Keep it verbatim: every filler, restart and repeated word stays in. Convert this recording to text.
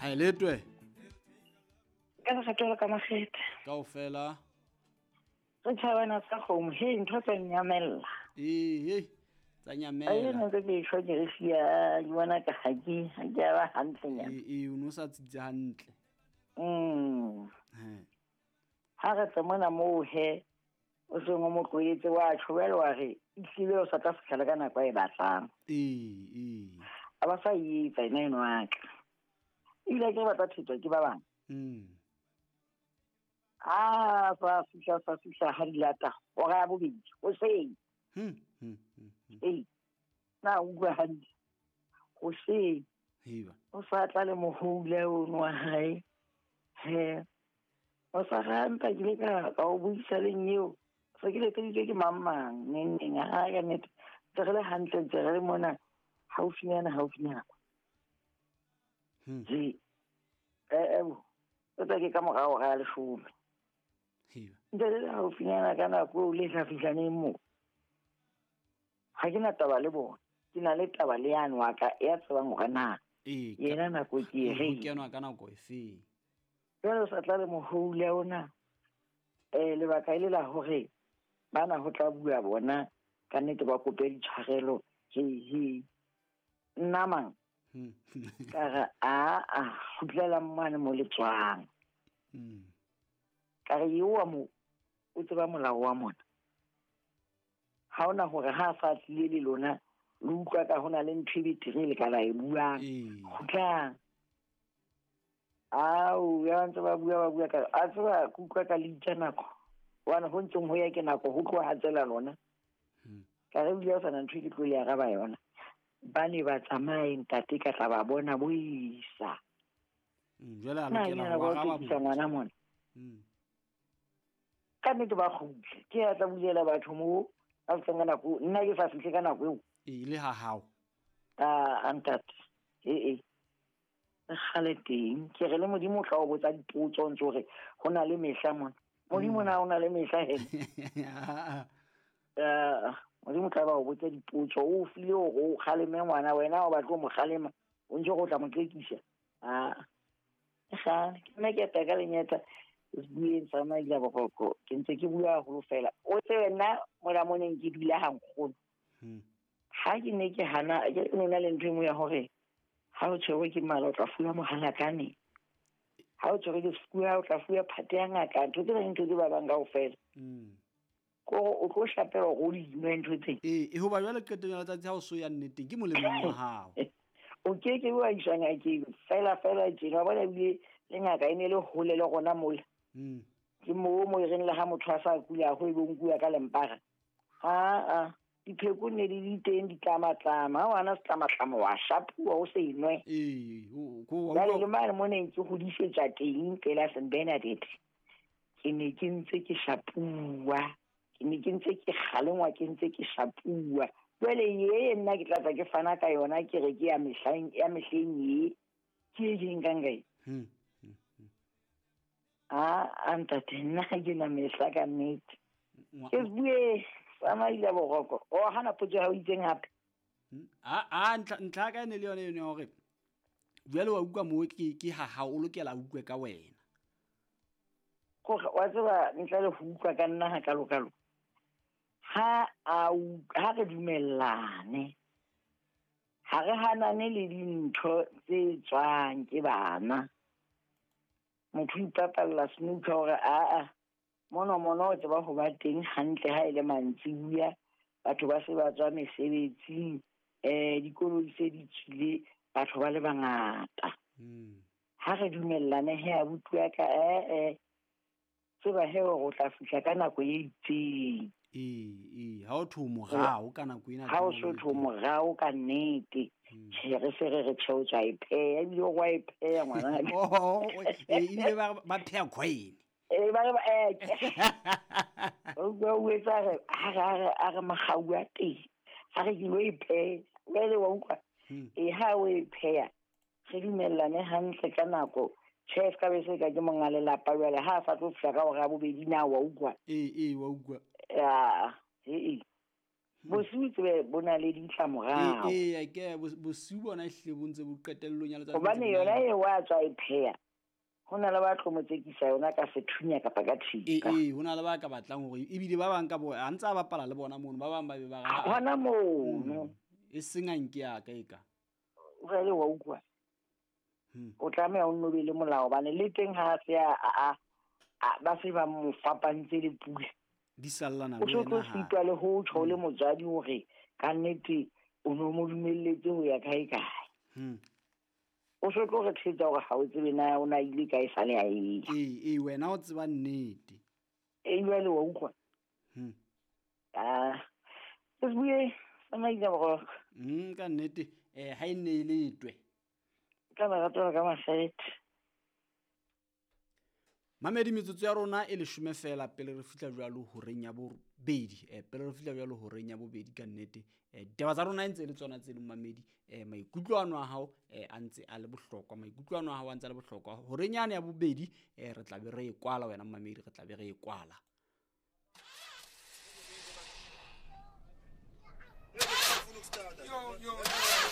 Ha letwe. Ka kgatolo ka makgethe. Kaofela. Re tjhabana sa kgomo, he ntho tsa nyamella. Eh eh. Tsa nyamela. Ai ne ke ke shwa ke re sia ke bona ka ha ke ha ke ba hantle nyana. Eh eh o no sa tsitse hantle. Mm. He. Ha re tsa mona moo he o se ngo mo tloetse wa tjhobela wa re itlile o sa tla fihla ka nako e batlang. Eh eh. A ba sa etsa ena eno wa ka. Ebile ke batla thetswa ke ba bang. Mm. Ah, fa fihla fa fihla ha dilata hora ya bobedi hoseng. Hmm hmm hmm. Eh. Na utlwa hantle. Hoseng. Hiba. O sa tla le mohole o nwa hae. He. O sa rampa ke le ka ka o buisa le nyeo. Se ke le teditswe ke mang mang neng neng ha ka nnete. Ntse re le hantle ntse re le mona haufinyana haufinyana. Hmm. Ji. Eh eh. O tla ke ka morao ga leshome. Hiba. Ntse re le haufinyana ka nako eo le sa fihlaneng moo. Ha ke na taba le bona. Ke na le taba le yane wa ka ya tsebang hore na. Eh. Yena nako ke e re. Kenwa ka nako efe? Jwale o sa tla le mohole ona. Eh lebaka e le la hore bana ho tla bua bona ka nnete ba kope ditshwarelo he he. Nna mang? Ka re a a kgutlela mane mo le tswang. Mm. Ka re eo wa mo o tseba molao wa mona. Ha ona hore ha sa tlile le lona le utlwa ka hona le ntho e betere le ka la e buang. Kgutlang. Au ya ntse ba bua ba bua ka a tseba ke utlwa ka le itja nako. Wana ho ntseng ho ya ke nako ho tloha tsela lona. Ka re bile o sana ntho e ke tlo le araba yona. Ba ne ba tsamaye ntate ka tla ba bona boisa. Mm, jwale a lokela ho araba ngwana mona. Mm. Ka nnete ba kgutle. Ke ya tla bulela batho moo a tseng ka nako nna ke sa fihle ka nako eo. E le ha hao. Ah, ntate. Eh eh. Kgale teng ke re le Modimo o tla o botsa dipotso ntse hore ho na le mehla mona. Modimo na o na le mehla he. Eh Modimo tla ba o botsa dipotso o file hore o kgaleme ngwana wena o batla mo kgalema o ntse go tla mo qekisa. Ah. Ga ke nna ke teka lenyeta bueng sa maila bogoko ke ntse ke bua haholo fela. O tsebe nna mola moneng ke dula ha nkgono. Hmm. Ha ke ne ke hana ke nna le ntho e nngwe ya hore ha o tshwerwe ke mala o tla fuwa mohalakane. Ha o tshwerwe ke sefuba o tla fuwa phate ya ngaka ntho tse ding ntho tse ba bang kaofela. Mm. Ko o tlo shapela hore o di nwe ntho tse. Eh e hoba jwale qetong ya letsatsi ha o so ya nneteng ke molemong wa hao. O ke ke wa iswa ngakeng fela fela tjena wa bona ebile le ngaka e ne le hole le rona mola. Mm. Ke moo mo e reng le ha motho a sa kula ho e bo nkuwa ka lempara. Ha a dipheko ne di di teng ditlamatlama ha wana setlamatlama wa shapuwa o se inwe. Eh o ko wa Jwale le mane mo neng ke hodisetsa teng pela Saint Bernadette. Ke ne ke ntse ke shapuwa. Ke ne ke ntse ke kgalengwa ke ntse ke shapuwa. Jwale ye nna ke tla tla ke fana ka yona ke re ke ya mehleng ya mehleng ye. Ke e ke nkang kae? Hmm. Ah, ntate nna ha ke na mehla ka nnete. Ke bue sa maila boroko. O hana potso ha o itseng hape. A a ntlha ntlha ka ene le yone yone hore jwale wa utlwa moo ke ke ha ha o lokela utlwe ka wena. Gore wa tseba ntle le ho utlwa ka nna ha kalo kalo. Ha a ha re dumellane. Ha re hanane le dintho tse tswang ke bana. Motho ipapalla snooker hore a a mono mono o tseba ho ba teng hantle ha ile mantsibuya batho ba se ba tswa mesebetsing eh dikoloi se di tswile batho ba le bangata. Mm. Ha re dumellane he abuti wa ka eh eh tseba he hore o tla fihla ka nako e itseng. Eh eh ha o tho morao ka nako ena ha o so tho morao ka nnete. Tjhe re se re re tjhe o tswa e pheha ebile o wa e pheha ngwana. Oh eh ebile ba ba pheha coin. Eh ba re eh o go o etsa re ha re a re magau a teng. Ha re ke lo e pheha jwale wa utlwa. E ha o e pheha re dumellane hantle ka nako. Tjhe se ka be se ka ke monga lelapa jwale ha a sa tlo fihla ka hora ya bobedi na wa utlwa. Eh eh wa utlwa. Ya eh eh. Bosiu tsebe bo na le ditlamorao. Ee, ke bosiu bona ehlile bo ntse bo qetellong ya letsatsi. Hobane yona e wa tswa e pheha. Ho na le ba tlo mo tsekisa yona ka sethunya kapa ka thipa. Ee, ho na le ba ka batlang hore ebile ba bang ka bo a ntse a bapala le bona mono, ba bang ba be ba ra. Hona mono. E seng a nke ya ka e ka. Jwale wa utlwa. O tlameha o nno be le molao hobane le teng ha se a a ba se ba mo fapantse le pula. Di sallana le wena. O tlo sitwa le ho tjho le motswadi hore ka nnete o no mo dumelletse ho ya kae kae. Hmm. O so tlo re thetsa hore ha o tsebe na o na ile kae sale a e. Ee, ee wena o tseba nnete. Ee jwale wa utlwa. Hmm. Ah. Se bue tsamaisa boroko. Hmm, ka nnete eh ha e ne e le twe. Ka lerato ka mafethe. Mamedi metsotso ya rona e leshome fela pele re fihla jwalo horeng ya bobedi. Eh pele re fihla jwalo horeng ya bobedi ka nnete. Eh ditaba tsa rona e ntse le tsona tse leng mamedi. Eh maikutlo ano a hao eh a ntse a le bohlokwa. Maikutlo ano a hao a ntse a le bohlokwa. Horeng yane ya bobedi eh re tla be re e kwala wena mamedi, re tla be re e kwala. Yo yo